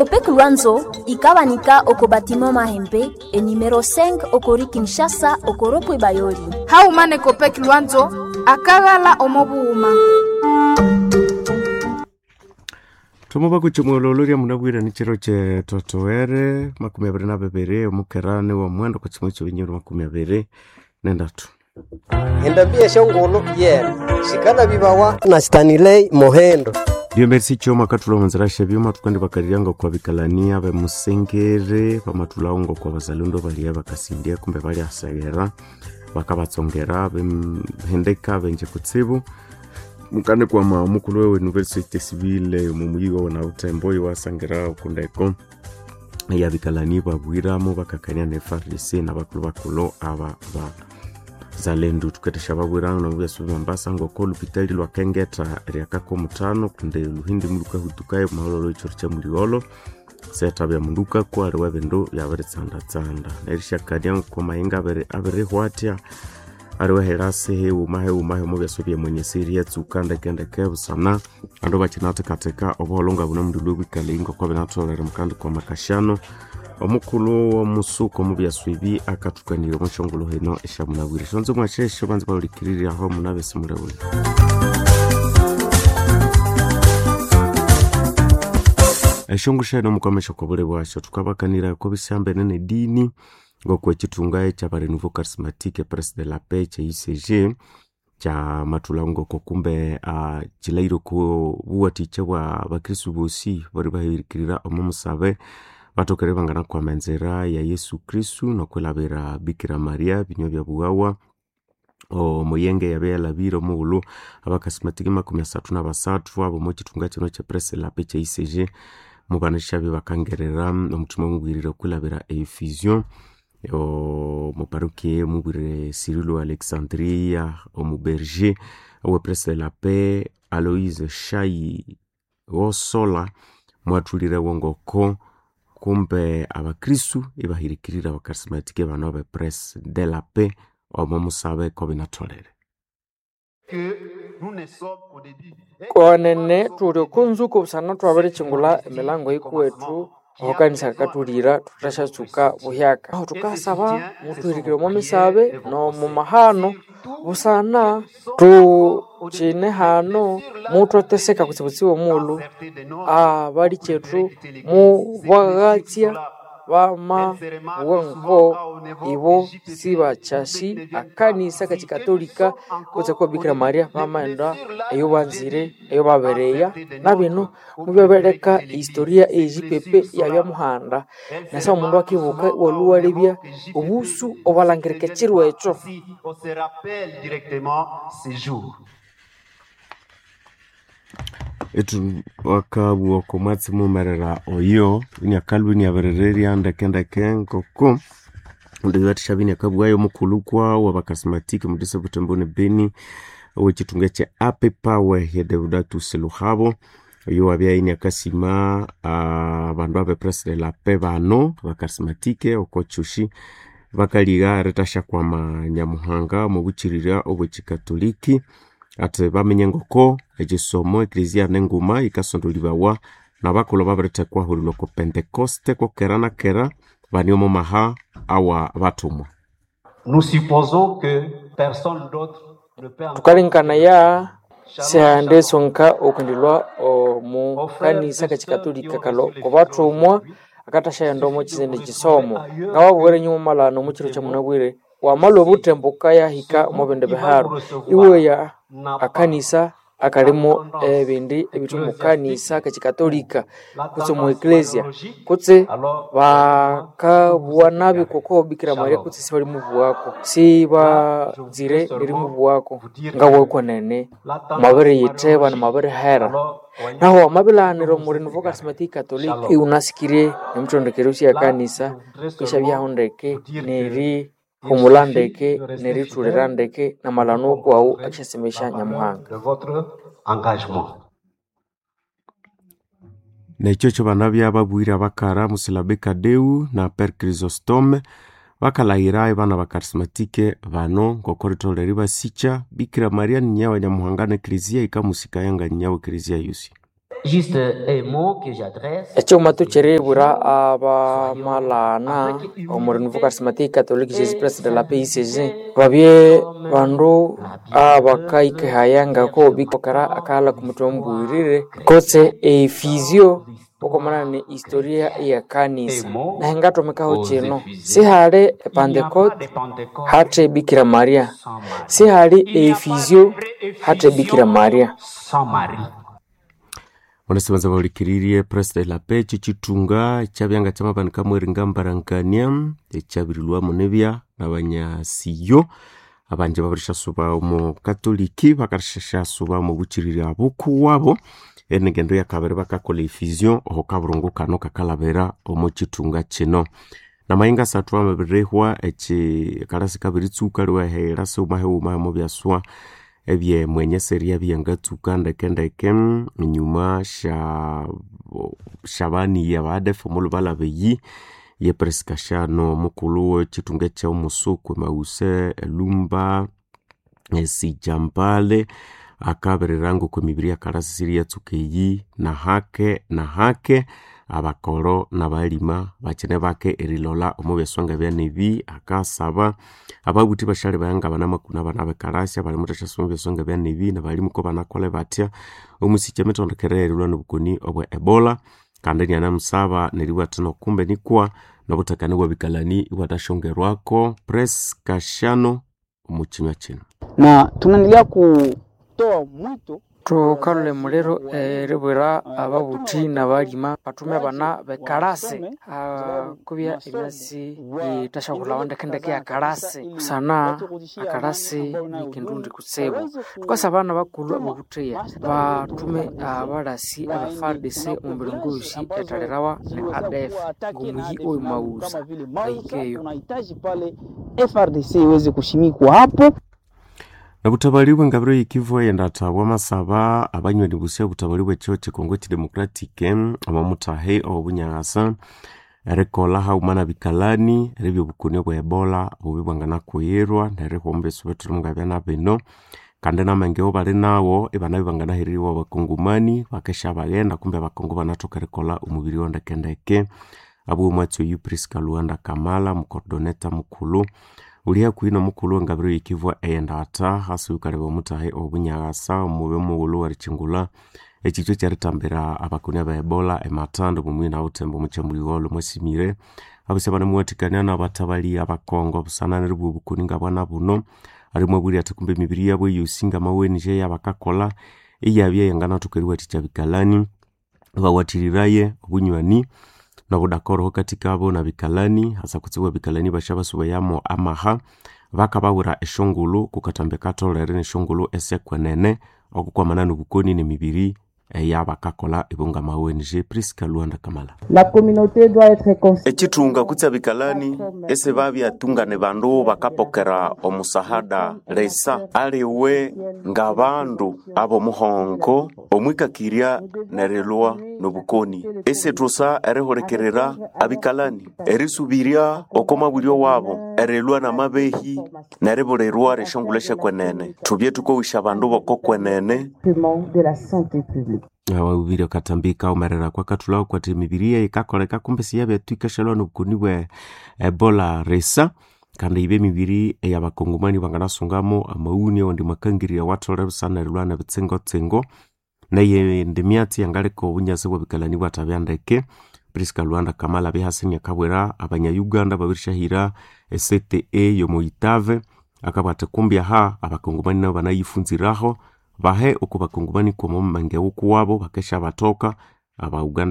Copec Luanzo ikabanika oko batiment Mahembe enumero 5 okori Kinshasa okoropwe Bayoli. Haumane Copec Luanzo akaghala omo bughuma. Thoma kuchimwololo lya munabwire ni chiro che totowere 22 omukerani wa mwendo kwa chimwe chobinyoro 23. Endambi esyongulhu yene sikanabibawa na Stanley Mohendo. Dio merci choma katula manzira shebyuma tukandi bakariryanga kwa bikalania bemusengere bamatulaungo kwa bazalendo balia bakasindia kumbe bali asegera bakabatsongera bemhendeka benje kutsibu mukane kwa mukulu wewe university civile mumuyi wawe na utembo iwasangira okundeko yabikalani babwiramo bakakania ne FARDC na bakulu bakulu aba ba zalendu tuketesha babwirano nabubyasu Mombasa ngoko lupitali lwa Kengeta ryakako mutano kunde luhindi muluka hutukayo mahololo ichoro cha muliolo seta bya munduka kwali webindu byabiritsandatsanda nerishakania kwa mahinga abirihwatya ariwe herasi heuma heuma hemo byaso bya mwenyesiri yatsuka ndekendeke busana andu bakinathekatheka obuholo nga buno mundu lwebwikale ngoko binatholere mukandi kwa makashano omukulhu womusuko mubyaso ibi akathukanire omushongolo hino esyamunabwire shonzo mwashesho banza bahulikiriryaho munabesi mulebule. Eshongo sheno mukwamesha kwa bule bwasho tukabakanira ko bisambene ne dini ngoko ekitunga ekya Renouveau Charismatique Presse de la Paix kya UCG kya matula ngoko kumbe kilaire ku buwatikya bwa bakristu bosi bari bahirikirira omu musabe batokere bangana kwama enzira ya Yesu Kristu nokwilabira Bikira Maria binywa bya buwawa omuyenge yabe yalabire omughulhu abakasimatiki 33 abo mukitunga kino kya Presse de la Paix kya UCG mubanishabi bakangerera omuthuma mubwirire okwilabira efusion omuparuki mubwirire Cyrilo Alexandria omuberger owe Presse de la Paix Aloise Shayi Wosola mwathulire wongoko kumbe abakristu ibahirikirira abakarismatike bano abe Presse de la Paix omo musabe ko binatholere. Konene thuli okonzuko busana thwabirikyingulha emilango yikuwethu oho kanisa kakathulira thuthashatsuka buhyaka. Aho thukasaba muthuhirikire omo misabe nomu mahano busana thukyine hano muthwateseka kutsibutsibu omughulhu abalikyethu mubaghatsya bamabugha ngo ibo sibakyasi akanisa kakikatolika kutse kwa Bikira Maria bamaghenda eyo banzire eyo babereya nabino mubyabireka ehistoria eyipipi iyabya muhanda nasa omundu akibuka iwalhwa iwalebya obusu obwalhangirika ekyiro ekyo. Ethu wakabugha oko mwatsi mughumerera oyo iniakalhwa iniabirirerya ndekendeke ngoko ndibathisha iniakabughayo omukulhu kwawu abakasimatiki omudisa Butembo ne Beni owekithunga ekya Apepawe ye Deodatus Luhabo oyo wabya iniakasima abandu abe Presse de la Paix bano abakarisimantike oko kyushi bakaligha erithasyakwama Nyamuhanga omwabukyirira obwekikatoliki ati baminya ngoko ekisomo eklezia nenguma yikasondolibawa nabakulhu babirithekwa hulilwa oko Pentecoste kokera na kera bane omo maha awa bathumwa. Nous supposons que personne d'autre ne peut encore Thukalengekanaya sihandi esonka okwendelwa omu kanisa kakikatolika kalho kobathumwa akathasyayenda omo kizindi kisomo ngababwira enyuma malhano omo kiro kyamunabwire wamalhwa obuthembo wukayahika omo bindi biharu iweya akanisa akalimo ebindi ebithe omu kanisa kakikatolika kutse omu eklezia kutse bakabugha nabi koko Bikira Maria kutse sibalimubugha sibanzire erimubugha ngabugha kwenene mwabiriyitheba namwabirihera naho wamabilhanira omu Renouveau Charismatique Catholique iwunasikirye emithondekere yosi eyakanisa isyabyahu ndeke nerihumulha ndeke nerithulira ndeke namalhano okwawu akisyasemesya Nyamuhanga. de votre engagement. Nekyo kyobanabya babwire abakara Musilabe Kadeu na Père Chrysostome bakalahira ebana bakarismatike bano ngoko ritholere eribasikya Bikira Maria ni nyawa Nyamuhanga ne eklezia yikamusikaya nga nyawa eklezia yosi. Juste un mot que j'adresse. Ekyuma tukyiribwira abamalana omu Renouveau Charismatique Catholique Jésus Christ de la PICG babye bandu abakaikehaya ngako bikokera akaghalha kumuthwe omubuyirire kutse efizio okwamana ne historia ya kanisa nahingathomekaho kino sihali epantekote hathe Bikira Maria, sihali efizio hathe Bikira Maria. Sans Marie. Onesibanza bahulikiririe Press de la Paix chichitunga ekyabya kyamabanika mweringa mbarangania ekyabirilwamu nibya nabanyasiyo abanje babirishyasuba omu katoliki bakasyasuba omu bukiriri abukuwabo enengendo yakabiri bakakola efusion oho kaburungu kano kakalabira omu kitunga kino namayinga asathu amabirihwa eki kalasi kabiritsuka liwahera siwuma hiwuma mubyaswa ebye mwenye seria byangatsuka ndekendeke enyuma shabaniya badefu omulhubalaba eyi ye Priska Shano mukulhu wekitunga ekyomusuku Mause Lumba Sijambale akabirira ngoko emibiri yakalasi siriyatsuka eyi nahake nahake abakoro nabalima bakine bake erilola omu byaswa byanebi akasaba ababuthi bashali bayanga banamakuna abana bekalasi abali muthashasoma ebyaswa byanebi nabalimu ko banakola batya omusikya emitondekere erilwa nobukoni obwa Ebola kandi inanamusaba neribugha athi nokumbe nikwa nobuthakani bwabikalani ibwathashongerwako Priska Shano omu kinywa kino na tunaendelea kutoa mwito Thukalhula emuliro eribwira ababuthi nabalima bathume abana bekalasi kubya emyatsi yithasyaghulhawa ndekendeke yakalasi busana akalasi nikindu ndi kutsibu. Thukasaba nabakulhu abobutheya bathume abalasi aba FARDC omu miringo yosi ethalirawa ni ADF ngomuyi oyo Mausa bahikeyo. Tunahitaji pale FRDC iweze kushimikwa hapo. Nobuthabali bwengabiro yikivu eyendatha bwamasaba abanywani busi obutabali bwekyo kyekongo kidemocratic omomuthahi owobunyakasa erikolha haghuma nabikalani eribya obukoni obwa Ebola bubi bwanganakuyirwa nerihwa omu byesu bithuli ngabya nabino kandi namenge bali nawo ibanabya banganahereribwa abakongomani bakesya baghenda kumbe abakongo banathoka erikolha omubiri wondekendeke abwo omwatsi oyu Priska Luanda Kamala mucoordinator mukulhu uli hakuhi nomukulhu wengabiro yikivu eyendatha hasi wukaleba omuthahi owobunyakasa omube mughulhu werikyingulha ekyitwa ekyeritambira abakoni aba Ebola emathanda omumwi nawuthemba omukyamulhigholo mwasimire abusi banamuwathikania nabathabali abakongo busana neribugha obukoni ngabwana buno alimwabulya athi kumbe emibiri yabo eyosi ngamawenje eyabakakolha iyabya yanganathoka eriwathikya bikalani bawathiriraye obunywani nobudakoro katikabo nabikalani hasa kutsibu bikalani bashabasubayamo amaha bakabawira eshongolo kukathambi katholere neshongolo esekwenene okukwamana nobukoni nemibiri eyabakakolha ibungama ONG Priska Luanda Kamala. La communauté doit être Ekithunga kutse abikalani ese babyatungane bandu bakapokera omusahada lesa aliwe ngabandu abomuhongo omwikakirya nerilwa nobukoni esethusa erihulikirira abikalani erisubirya oko mabulyo wabo erilwa namabehi neribulirwa rishongolo eshyakwenene thubye thukowisya abandu bokokwenene de la santé publique. Awabiri akatambika umerera kwa kathulao kwati emibiri yikakoleka kumbe siyabyathu ikashalwa nobukoni bwe Ebola resa kandi ibe emibiri eyabakongomani banganasungamo amaghuni awandi makangirya watholere busana erilwa nebitsingotsingo neyindi myatsi yangaleka obunyasi bwebikalani bwathabya ndeke. Priska Luanda Kamala bihasini akabwira abanya-Uganda babirisyahira e-CTE yomuitave akabugha athi kumbi aha abakongomani nabo banayifunziraho bahe oku bakongomani kwama omu mangewu kuwabo bakesya bathoka aba Uganda.